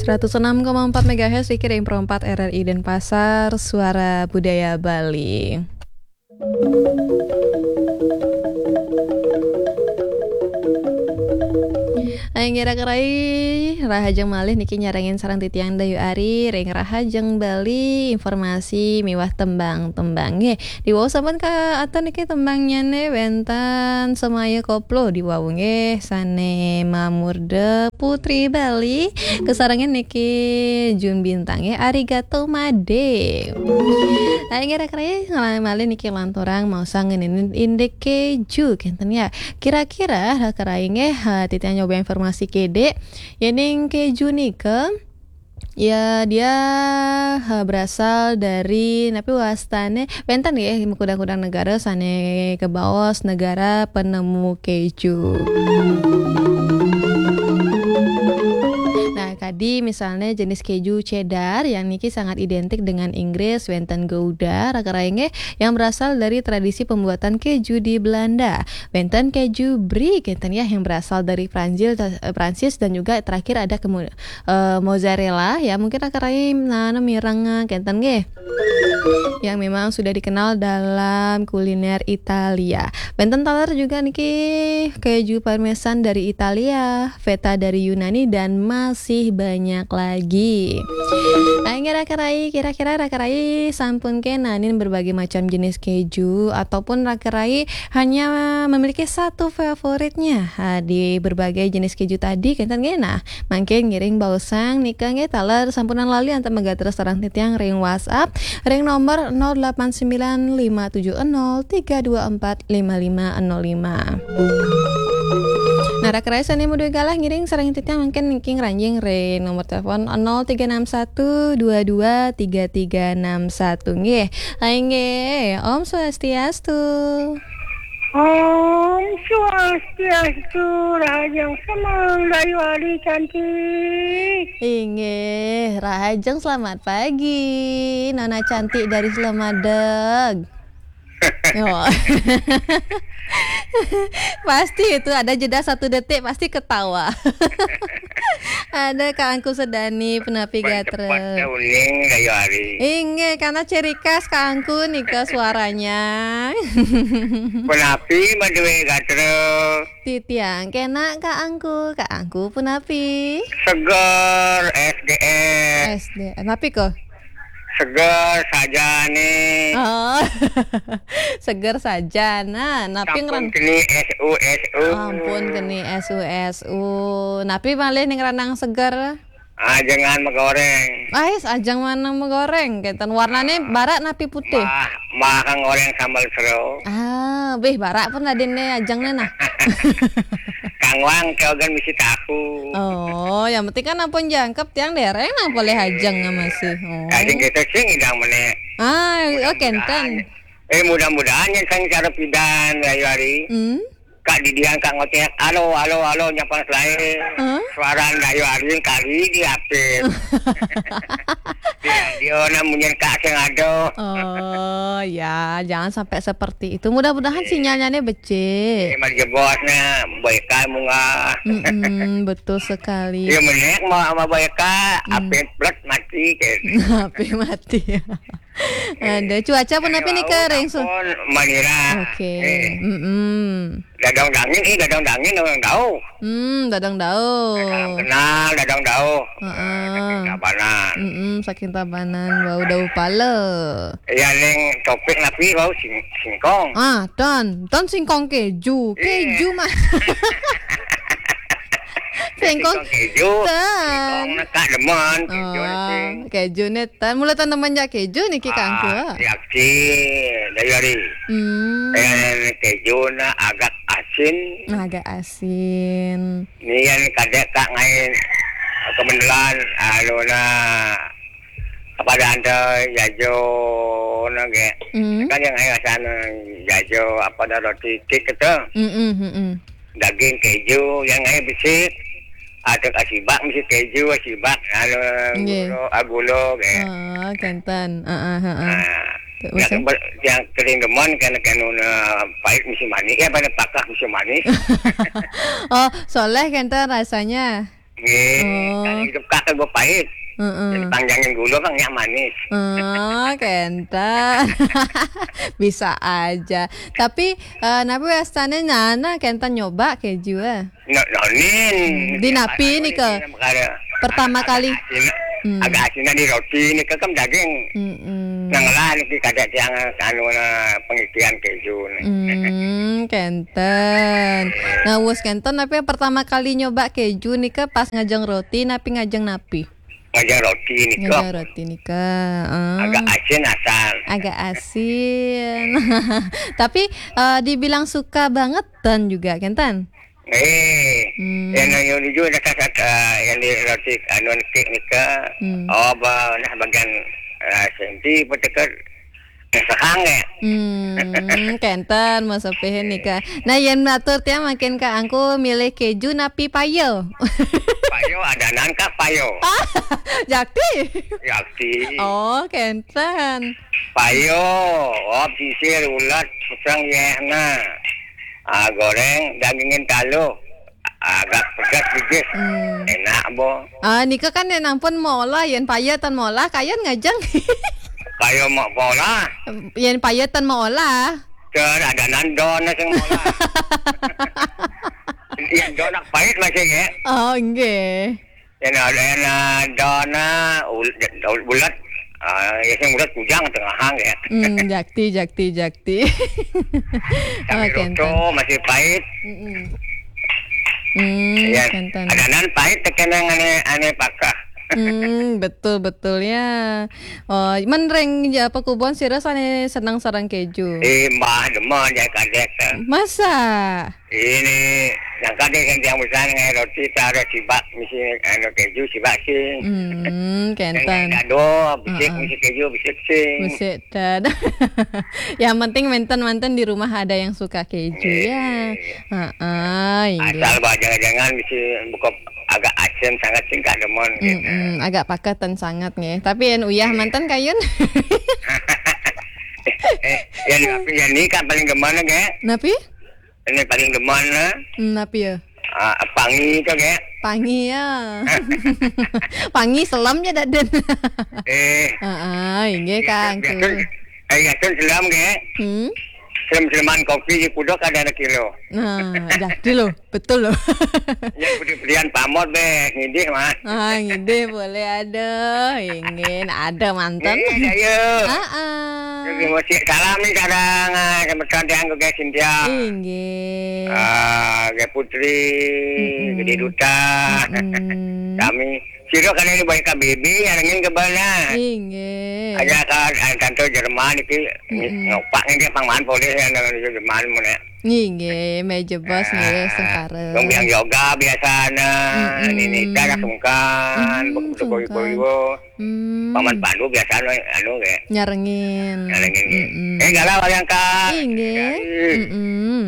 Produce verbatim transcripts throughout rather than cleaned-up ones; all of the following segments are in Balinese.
Seratus enam koma empat megahertz, Riki Impro empat R R I Denpasar, Suara Budaya Bali. Aing gerak rai, rahajeng malih niki nyarengin sareng titiang Dayu Ari, ring Rahajeng Bali, informasi miwah tembang-tembang. Nggih, diwau sampun ka atur niki tembangnyane wenten Semaya Koplo diwau nggih, sane mamurda Putri Bali, kasarengin niki Jun Bintang nggih, Arigato Made. Aing gerak rai, malih niki lanturang maosang ngenenin indik keju, kenten ya. Kira-kira, raka rai nggih, ha, titiang nyoba informasi kede, yening keju nika, ya, dia, ha, berasal dari, napi wastane, wenten nggih, makudang-kudang negara sane kabaos negara penemu keju. Nah, kadi misalnya jenis keju cheddar yang niki sangat identik dengan Inggris, wenten Gouda, raka rai nggih, yang berasal dari tradisi pembuatan keju di Belanda. Wenten keju brie, kenten ya, yang berasal dari Prancis, eh, Prancis, dan juga terakhir ada kemu-, eh, mozzarella, ya, mungkin raka rai nana mireng, eh, kenten nggih, yang memang sudah dikenal dalam kuliner Italia. Wenten taler juga niki keju parmesan dari Italia, feta dari Yunani, dan masih banyak lagi. Nah, ini raka rai, kira-kira raka rai sampun kenanin berbagai macam jenis keju ataupun raka rai hanya memiliki satu favoritnya, ha, di berbagai jenis keju tadi, kenten nggih? Nah, mangkin ngiring baosang nika nggih, taler sampunang lali antuk magatres sareng titiang ring WhatsApp ring nomor nol delapan sembilan lima tujuh nol tiga dua empat lima lima nol lima. Nah, raka rai sane madué galah ngiring sareng titiang mangkin niki ngranjing ring nomor telepon nol tiga enam satu dua dua tiga tiga enam satu nggih. Inggih, Om Swastiastu. Om Swastiastu, rahajeng semeng, Dayu Ari cantik. Inggih, rahajeng selamat pagi, Nona cantik dari Slemadeg. Oh. Pasti itu ada jeda satu detik, pasti ketawa. Ada Kak Angku Sedani, punapi gatra? Cepet uning, Dayu Ari. Inggih, karena ciri khas Kak Angku nika suaranya. Punapi madué gatra? Titiang kena Kak Angku, Kak Angku punapi? Seger, S D S. S D, napi ko? Seger sajane. Oh. Seger saja. Nah, napi sampun ngran-, keni S U S U. Ampun keni S U S U. Napi malih ning ranang seger? Ajengan magoreng. Ais, ajeng manang magoreng. Kenten warnane barak napi putih? Mah, mah kang goreng sambal sero. Ah, bih barak pun adine ajeng ne nah. Kang wang keogan misi tahu. Oh, yang penting kan ampun jangkep tiang dereng nang boleh ajeng masih. Oh. Ajeng kita sing idang meneh. Ah, oh, kenten. Mudah-mudahan, eh, mudah-mudahan yang sang cara pidan, Dayu Ari. Hmm? Kak Didian, Kak ngoceh, "Halo, halo, halo," nyapa lain. Hah? Suara Dayu Ari kali di Apit. Dia, dia nak munyin Kak sing ada. Oh, ya, jangan sampai seperti itu. Mudah-mudahan sinyalnya ne becik. Eh, mari jebos na, baik kan munggah. Mm-mm, betul sekali. Ya, menek mau sama baik, Kak. Hmm. Apit plat mati, kayak. Apit mati. Ada cuaca pun napi nika ring su-, malira. Oke. Eh. Mm-mm. Dadang dangin, eh, dadang dangin, dadang dauh. Hmm, dadang dauh. Salam kenal, dadang dauh. Heeh. Eh, saking Tabanan. Mm-mm, saking Tabanan, bau dauh pala. Ya, ning topik napi bau sing-, singkong. Ah, ton, ton singkong keju. Iya. Keju mah. Singkong. Singkong keju. Ten. Singkong nak demen, keju. Oh, sing-, keju ne ten. Mula ten demen ja keju niki, Kak Angku. Ah, yakin, Dayu Ari. Hmm. Eh, keju na agak asin. Agak asin. Nian kadek Kak ngain kemendelan, anu na, apa ada anda jajo na ge. Hmm. Kan yang ayo sana jajo apa ada roti cake gitu. Mm-mm, mm-mm. Daging keju yang ayo bisi. Ada asibak misi keju, asibak, anu, nggih, gula, ah, gula ge. Oh, kenten. Heeh, heeh. Nah, terus, yang, eh? Yang kering demen kena, kena na pahit misi manis. Ya, pada pakah misi manis. Oh, soleh kenten rasanya. Nggih, oh, kan hidup kakek gue pahit. Heeh. Jadi panjangin gula kan nyak manis. Oh, kenten. Bisa aja. Tapi eh, napi wastane nyana kenten nyoba keju eh? No, nonin. Hmm, di napi nih ke? Pertama kali. Asin, hmm, agak asin di roti nih ke kan daging. Mm-mm. Nang lah nih kada tiang anu na pengikian keju nih. Hmm, kenten. Nah, wes kenten tapi pertama kali nyoba keju nih ke pas ngajeng roti napi ngajeng napi? Ngajeng roti nih ke. Ngajeng roti nih ke. Ah. Agak asin asal. Agak asin. Tapi eh, dibilang suka banget dan juga kenten. Eh, hmm, yang yang juga dekat eh, yang di roti anu kek nih ke. Hmm. Oh, bah, nah bagian eh, senti petekat. Sehang ya. Hmm, kenten mau sepihin nih kak. Nah, yang atur tiang makin kak angku milih keju napi payo. Payo adanan kah payo? Jakti. Jakti. Oh, kenten. Payo, oh pisir ulat, pisang ya nah. Ah, goreng dagingin talu. Agak pedas dikit. Hmm. Enak bo. Ah, nika kan yang ampun molah, yang payo tan molah, kayan ngajeng. Payo mau molah. Yang payo tan molah. Ter ada nandon sing molah. Yang donak pahit masih ya. Oh, nggih. Yang ada yang dona bulat. Ah, ya sing bulat kujang tengah hang ya. Hmm, jakti, jakti, jakti. Tapi oh, roto masih pahit. Mm-mm. Hmm, ya, kenten. Ada nan pahit tekenang ane ane pakah. Hmm, betul betul ya. Oh, menreng ya apa kubon sira sane senang sarang keju. Eh, mbah demen ya kadek. Masa? Ini yang kadek yang tiang besar ngai roti taruh sibak misi anu keju sibak sih. Hmm, kenten. Dado bisik misi keju bisik sih. Bisik dan. Yang penting mantan-mantan di rumah ada yang suka keju ya. Heeh, iya. Asal bah jangan-jangan bisa buka agak asin sangat singkat demen gitu. Mm-mm, agak pakatan sangat nggih. Tapi yang uyah mantan kayun. Eh, yang tapi yang ini kan paling demen nggih. Napi? Ini paling demen eh. Hmm, napi ya? Ah, pangi itu nggih. Pangi ya. Pangi selam ya daden. Eh. Heeh, inggih Kang. Biasa, eh, biasa selam nggih. Hmm. Selam-selaman kopi di kudok ada kilo. Nah, jadi loh, betul loh. Ya putih-putihan pamor be, ngidih mah. Ah, ngidih boleh ada, ingin ada mantan. Eh, ayo. Heeh. Terima kasih. Salam nih kadang ah, sama tante yang gue Cynthia. Inggih. Ah, Gaya Putri, mm-mm. Gede Duta. Mm-mm. Kami sira kan ini baik K B B yang ingin ke mana? Inggih. Ada kan ada tante Jerman iki ngopak ini dia pangman boleh yang dengan Jerman mana. Inggih, meja bos nggih sengkara. Wong yang yoga biasanya, mm-mm. Ini cara sungkan, mm, begitu sungkan. Boyo-boyo. Hmm. Paman Pandu biasanya anu nggih. Nyarengin. Nyarengin nggih. Mm-mm. Eh galau yang kak. Inggih. Mm-mm.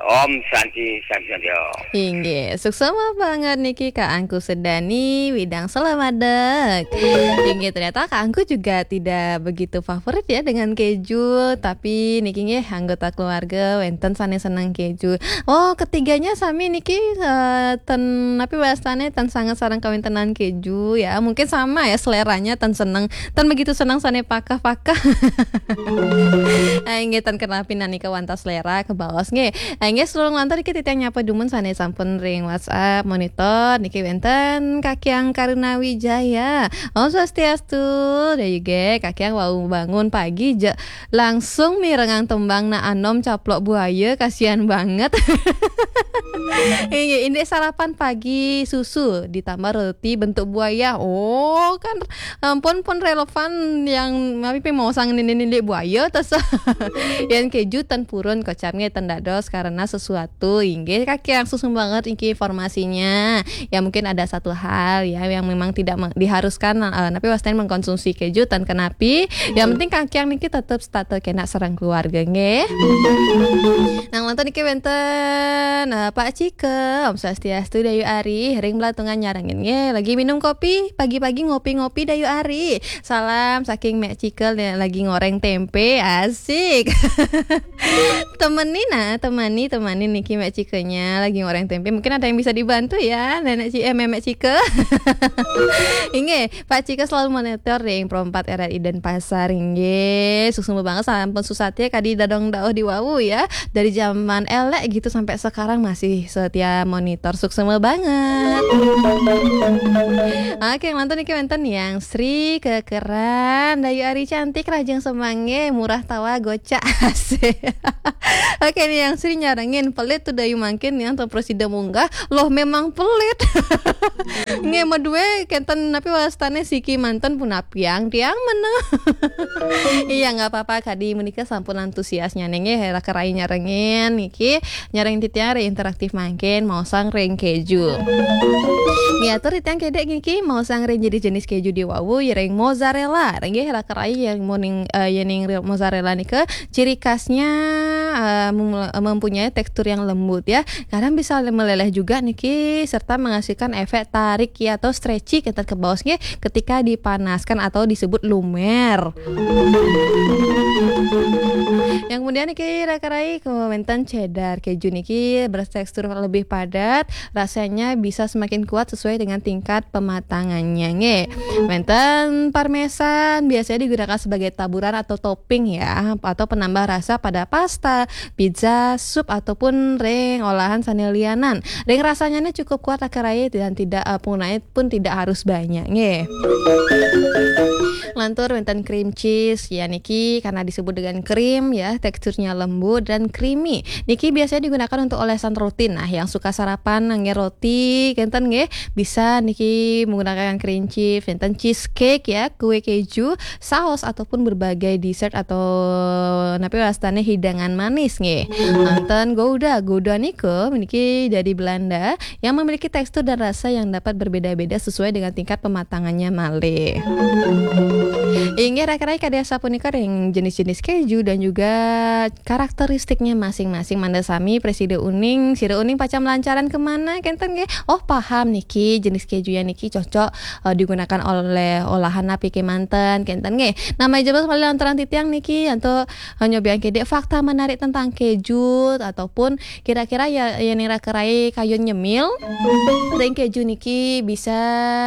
Om Santi Santi Santi Om. Inggih, suksma banget niki Kak Angku Sedani widang selamadek. Inggih, ternyata Kak Angku juga tidak begitu favorit ya dengan keju, tapi niki nggih anggota keluarga wenten sane seneng keju. Oh, ketiganya sami niki eh, ten tapi wastane ten sangat sarang kawintenan keju ya. Mungkin sama ya seleranya ten seneng, ten begitu seneng sane pakah-pakah. Ah, inggih ten kenapi nanika wantah selera kebaos nggih. Ah, inggih, sedurung lantur iki titiang nyapa dumun sane sampun ring WhatsApp monitor niki wenten Kakiang Karuna Wijaya. Om Swastiastu, dayu ge Kakiang wau bangun pagi je langsung mirengang tembang na anom caplok buaya, kasihan banget. Inggih, indik sarapan pagi susu ditambah roti bentuk buaya. Oh, kan ampun pun relevan yang tapi mau sang nini buaya tas. Yang keju ten purun kocapnya ten dados karena sesuatu. Inggih kaki langsung banget iki informasinya. Ya mungkin ada satu hal ya yang memang tidak diharuskan eh, tapi wastain mengkonsumsi keju ten kenapi. Yang penting kaki yang niki tetap status kena serang keluarga nggih. Nang nonton iki wenten eh, Pak Cike, Om Swastiastu Dayu Ari, ring belatungan nyarengin nggih. Lagi minum kopi, pagi-pagi ngopi-ngopi Dayu Ari. Salam saking Mek Cikel yang lagi ngoreng tempe. Asik. Temeni nah, temeni Temani niki Mak Cikenya lagi ngoreng tempe. Mungkin ada yang bisa dibantu ya, Nenek Ci-, eh, Memek Cike. Inggih, Pak Cike selalu monitor ring Pro empat R R I Denpasar, inggih. Suksma banget sampun susah ya kadi dadong dauh di wau ya. Dari zaman elek gitu sampai sekarang masih setia monitor. Suksma banget. Oke, lantur niki wénten Yang Sri kekeran, Dayu Ari cantik, rajin semangge, murah tawa, gocak, asik. Oke nih, Yang Sri nyarengin, pelit tuh Dayu mangkin yang terus sida munggah. Loh, memang pelit. Nggih, madue kenten napi wastane siki manten punapiang tiang meneng. Iya, nggak apa-apa, kadi menika sampun antusiasnya nggih, raka rai nyarengin niki, nyarengin titiang ring interaktif mangkin, maosang ring keju. Nggih, atur titiang kedek niki, maosang ring jenis-jenis keju di wau, ring mozzarella. Nggih, raka rai yang moning, eh, yening mozzarella nika, ciri khasnya, eh, mem-, mempunyai tekstur yang lembut ya. Kadang bisa meleleh juga niki, serta menghasilkan efek tarik ya atau stretchy kita ke bawah nggih, ketika dipanaskan atau disebut lumer. Yang kemudian niki raka rai ke wénten cheddar keju niki bertekstur lebih padat, rasanya bisa semakin kuat sesuai dengan tingkat pematangannya nggih. Wénten parmesan biasanya digunakan sebagai taburan atau topping ya, atau penambah rasa pada pasta, pizza, sup ataupun ring olahan sane lianan. Ring rasanya ini cukup kuat raka rai dan tidak, eh, penggunaannya pun tidak harus banyak nggih. Lantur wénten cream cheese ya niki karena disebut dengan krim ya, teksturnya lembut dan creamy. Niki biasanya digunakan untuk olesan roti. Nah, yang suka sarapan nggih roti kenten nggih, bisa niki menggunakan cream cheese, wénten cheesecake ya, kue keju, saus ataupun berbagai dessert atau napi wastane hidangan manis nggih. Wénten gouda, gouda nika niki dari Belanda yang memiliki tekstur dan rasa yang dapat berbeda-beda sesuai dengan tingkat pematangannya malih. Inggih raka rai kadi asapunika ring jenis-jenis keju dan juga karakteristiknya masing-masing. Mangda sami prasida uning, sira uning pacang melancaran kemana kenten nggih. Oh, paham niki jenis keju yang niki cocok, eh, digunakan oleh olahan napi kemanten kenten nggih. Nah, malih jebos malih lanturang titiang niki antuk, eh, nyobiang kedek fakta menarik tentang keju ataupun kira-kira ya, yening raka rai kayun nyemil ring keju niki bisa,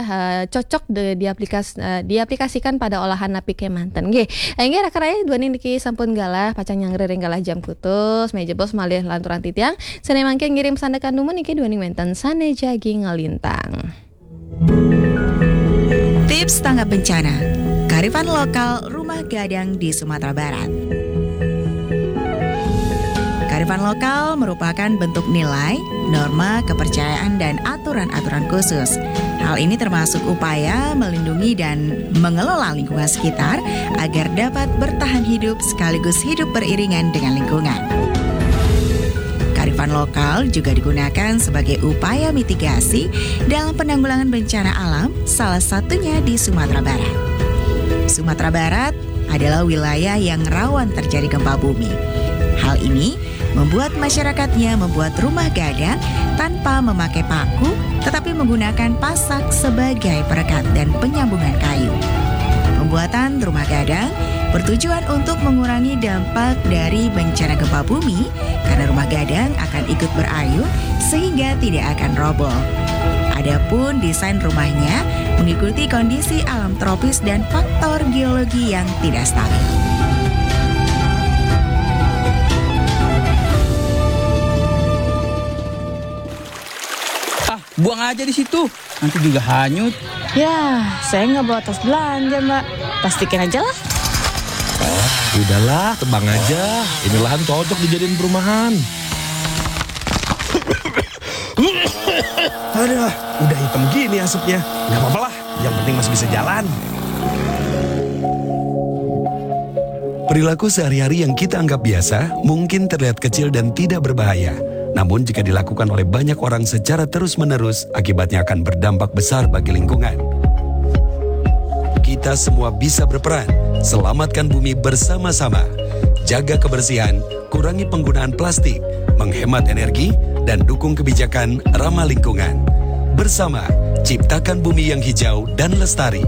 eh, cocok de-, diaplikas-, eh, diaplikasikan pada olahan napi kemanten nggih. Eh, inggih raka rai duaning niki sampun galah pacang nyanggra ring galah jam kutus, malih jebos malih lanturang titiang. Sane mangkin ngiring sandekan dumun niki duaning wénten sane jagi ngalintang. Tips tanggap bencana. Kearifan lokal rumah gadang di Sumatera Barat. Kearifan lokal merupakan bentuk nilai, norma, kepercayaan, dan aturan-aturan khusus. Hal ini termasuk upaya melindungi dan mengelola lingkungan sekitar agar dapat bertahan hidup sekaligus hidup beriringan dengan lingkungan. Kearifan lokal juga digunakan sebagai upaya mitigasi dalam penanggulangan bencana alam, salah satunya di Sumatera Barat. Sumatera Barat adalah wilayah yang rawan terjadi gempa bumi. Hal ini membuat masyarakatnya membuat rumah gadang tanpa memakai paku, tetapi menggunakan pasak sebagai perekat dan penyambungan kayu. Pembuatan rumah gadang bertujuan untuk mengurangi dampak dari bencana gempa bumi, karena rumah gadang akan ikut berayun sehingga tidak akan roboh. Adapun desain rumahnya mengikuti kondisi alam tropis dan faktor geologi yang tidak stabil. Ah, buang aja di situ. Nanti juga hanyut. Ya, saya nggak bawa tas belanja, Mbak. Plastikin aja lah. Oh, udahlah, tebang aja. Ini lahan cocok dijadiin perumahan. Aduh, udah hitam gini asapnya. Nggak apa-apa lah, yang penting masih bisa jalan. Perilaku sehari-hari yang kita anggap biasa mungkin terlihat kecil dan tidak berbahaya. Namun jika dilakukan oleh banyak orang secara terus-menerus, akibatnya akan berdampak besar bagi lingkungan. Kita semua bisa berperan. Selamatkan bumi bersama-sama. Jaga kebersihan, kurangi penggunaan plastik, menghemat energi, dan dukung kebijakan ramah lingkungan. Bersama, ciptakan bumi yang hijau dan lestari.